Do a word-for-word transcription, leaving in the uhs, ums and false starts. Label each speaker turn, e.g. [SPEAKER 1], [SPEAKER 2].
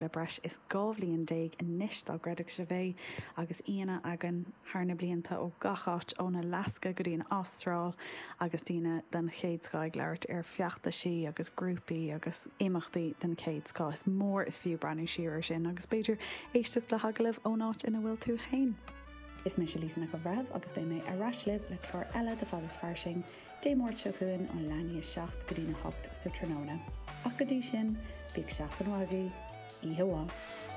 [SPEAKER 1] Le breis is dhá bhliain déag anois dá gcreidfeadh sibh é agus aíonna againn thar na blianta ó gach áit ón Alasca go dtí an Astráil agus daoine den chéad scoth ag labhairt ar feachtaisí agus grúpaí agus imeachtaí den chéad scoth. Is mór is fiú breathnú siar ar sin agus b'fhéidir éisteacht le hagallaimh ón áit ina bhfuil tú féin. Is mise Lisa Nic an Bhreithimh agus beidh mé ar ais libh le clár eile de Fad is Fairsing Dé Máirt seo chugainn ó leath i ndiaidh a seacht go dtí'n a hocht sa tráthnóna. Ach go dtí sin, bíodh seachtain mhaith agaibh, oíche mhaith.